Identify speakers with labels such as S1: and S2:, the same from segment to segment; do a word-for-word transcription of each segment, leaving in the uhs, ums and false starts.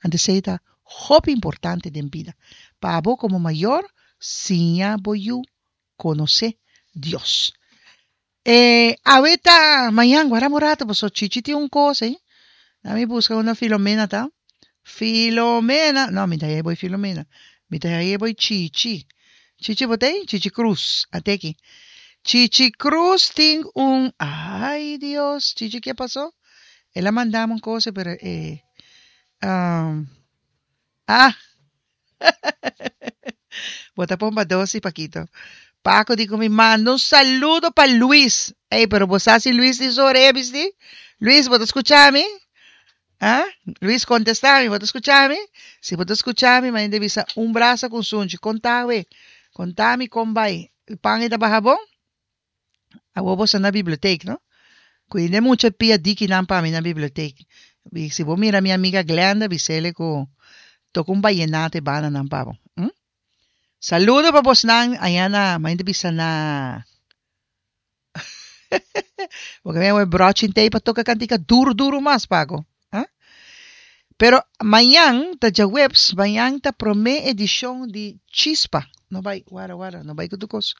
S1: Anto esei ta hopi importante den bida. Pa abo komo mayor, siña bo yu konosé Dios. E awe ta mañan, guarda un rato, paso Chichi tin un kos, eh. Mi buska unda Filomena ta. Filomena, no, mi ta haye boy Filomena. Mi ta haye boy Chichi. Chichi bo t'ei? Chichi Cruz, ate aki. Chichi Cruz tin un, ay Dios, Chichi ke pasó? El a mandami un kos, pero e, um, ah, bo ta pomba dos y Paquito. Paco di ku mi manda un saludo pa Luis. Ey, pero bo sa si Luis tin su orea bisti? Luis, bo ta skucha mi? Ah? Luis, kontestá mi, bo ta skucha mi? Si bo ta skucha mi, mi bisa un brasa ku sunchi. Konta we. Konta mi kon bai. Pan e ta baha bon? Awor bo sa na bibliotek, no? Kuida mucha pia dikinan pa mi na bibliotek. Si bo mira mi amiga Glenda, bisele ku toka un vallenato e banda nan pa bo. Hm? Saludo pa bosnan allá na, mi bisa na. Porque mi broche tei pa toka kantika duro duro mas, Paco. Ah? Pero mañan ta djaweps, mañan ta promé edishon di Chispa. No bai, wara wara, no bai ku tur kos.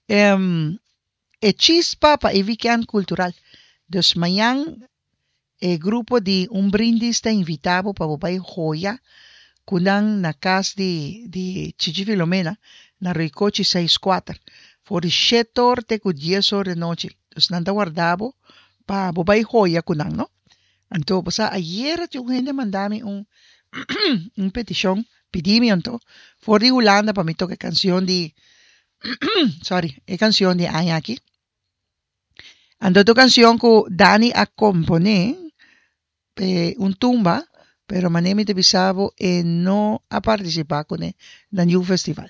S1: Um, e Chispa pa e weekend kultural. Dus mañan e grupo di Un Brindis ta invitá bo pa bai hoya ku nan na kas di, di Chichi Filomena na Ricochi seis kuater. For di shete or te ku dies or di nochi. Dus nan ta warda bo pa bai hoya ku nan, no? Anto, basta ayera tin un hende manda mi un un petishon, pidi mi anto, for di Hulanda pa mi toka kanshon di, sorry, e kanshon di aña aki. Anto ta kanshon ku Dani a komponé, eh, un tumba, pero manera mi ta bisa bo e no a partisipá kuné na ningun festival.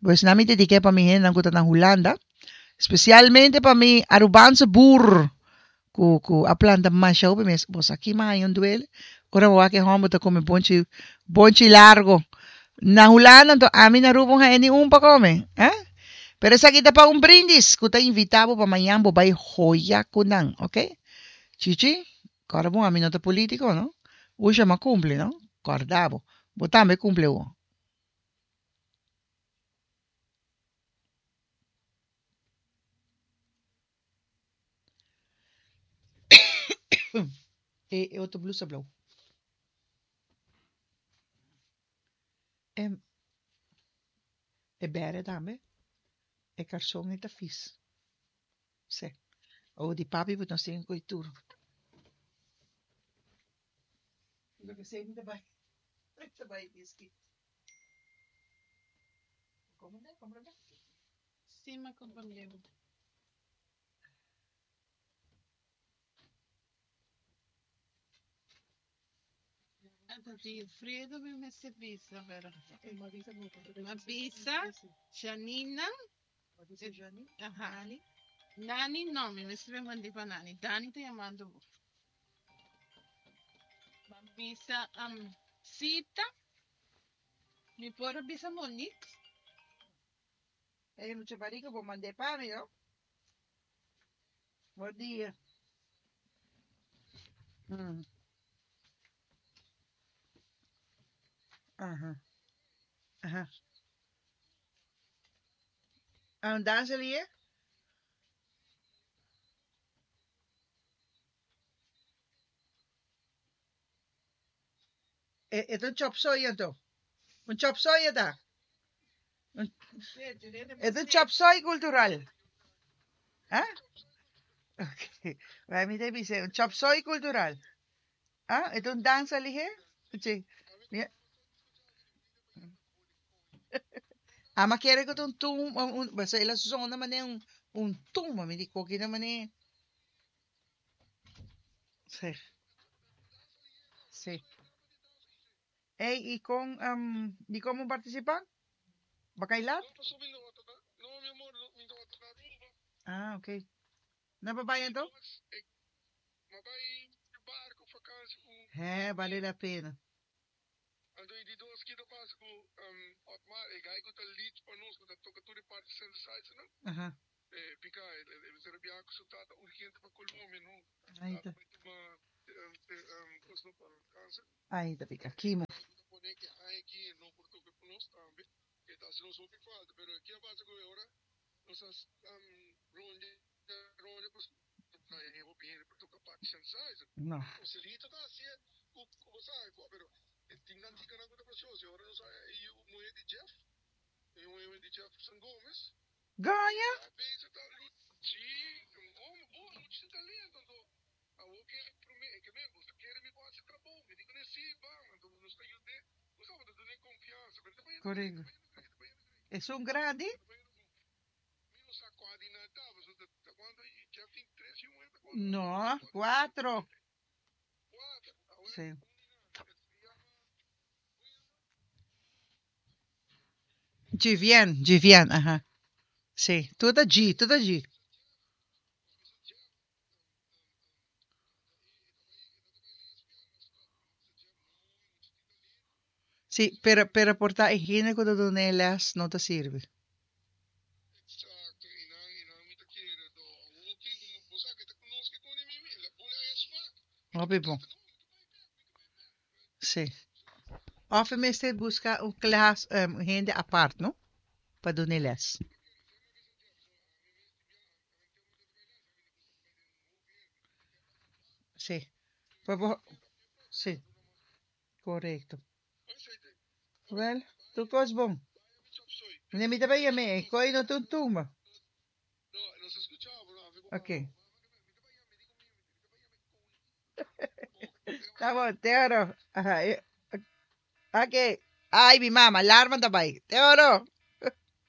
S1: Pues nan mi dediké pa mi hendenan ku ta na Hulanda, spesialmente pa mi Arubaanse boer, ku ku a planta masha hopi mes. Bo sa ki m'a haña un duele, ora bo wak e hòmber ta kome bonchi bonchi largo. Na Hulanda anto ami na Aruba no haña ni un pa kome. Eh? Pero esaki ta pa Un Brindis, ku ta invitá bo pa mañan bo bai hoya ku nan, ok? Chichi, kòrda bon, ami no ta polítiko, no? Usha m'a kumpli, no? Kòrda bo. Bo tambe kumpli awor. E, e otro blusa blou. E, e bere tambe. E karson e ta fis. Sí. O di papi bo nos tin kultura. Loke sei mi ta bai. Ta bai biski. Komo ne? Komprendé?
S2: Sí, m'a komprendé. Anto di Fredo mi mester bisa, pero m'a bisa, Janina, aha. Nani no, mi mester mand'é pa Nani. Dani ta yamando bo. M'a bisa um, Sita. Mi por bisa Monique.
S1: Ei, mucha barica, bo mand'é pa mi, no? Bon dia. Hum. Aha. Aha. Ah, un dansa li, eh? E, e un chop soy anto. Un chop soy ta. Un, e un chop soy kultural. Ah? Ok. Bai mi ta bisa un chop soy kultural. Ah, e un dansa li, eh? Sí. Mi- Ah, ma kere ku un tum, un, un, basta el a zona manera un, un tumba, mi di koki na manera. Sí. Sí. Ei, i kon, um, di kon partisipá? Bakailat? Ah, ok. Na papai anto? É, vale la pena. Aha. Ahí está. Ai, ta pica. Chemo. No. Gaña? Correcto. Es un grande? No, cuatro. Sí. Givian, Givian, ajá. Sí, tur ta G, tur ta G. Sí, pero, pero por ta higiene ku ta duna e les no ta sirbi. Hopi bon. Sí. Of e mester buska un klas, um, hende apart, no? Pa duna e les. Sí. Pa bo, sí, korekto. Wel, tur kos bon. Ne mi ta bai yam'é, e koi no ta un tumba. Ok. Ta bon, te oro. Aha, eh, ok. Ai, mi mama, alarma ta bai. Te oro.